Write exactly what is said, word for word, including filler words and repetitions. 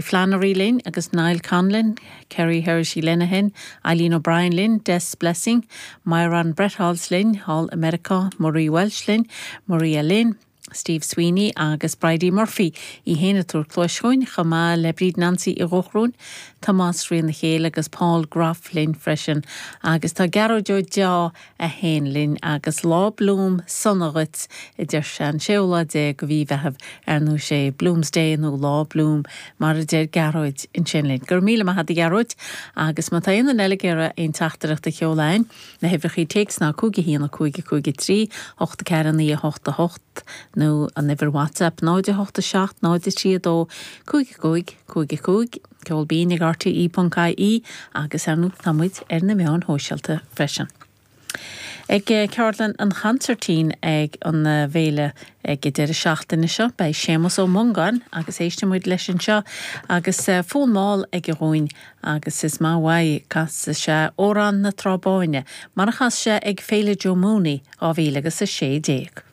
Flannery linn agus Niall Conlon, Kerry Hersey Lenahan, Eileen O'Brien linn, Des Blessing, Myron Bretthals linn, Hall America, Marie Welsh linn, Maria Lynn, Steve Sweeney agus Bridie Murphy í féin ag tabhairt cluas dúinn chomh maith le Bríd Nancy i gCuan, Tomás Ríon na chéile agus Paul Groff linn freisin, agus tá Gearóid Ó Deá a haon linn agus lá Bloom sona dhuit a deir sé an séú lá déag de mhí Mheithimh ar nó sé Bloomsday nó lá Bloom mar a deir Gearóid ansin linn. Gur míle maith a Ghearóid agus má tá aon duine eile ag iarraidh aon teachtaireacht a sheoladh na huimhreacha téacs ná cúig a haon a cúig a cúig a trí, ocht a ceathair naoi a hocht a hocht nó an uimhir WhatsApp náid a hocht a seacht náid a trí a dó cúig cúig cúig cúig ceol binn ag RTE.ie agus ar ndóigh tá muid ar na meáin shóisialta freisin. Ag ceardlann an chansairtín ag an bhféile ag deireadh seachtaine seo, beidh Séamus Ó Mongáin agus éistfidh muid leis anseo agus fonn mall aige dhúinn agus is maith uaidh casfaidh sé Amhrán na Trá Báine mar a chas sé ag Féile Joe Mooney dhá mhíle agus a sé déag.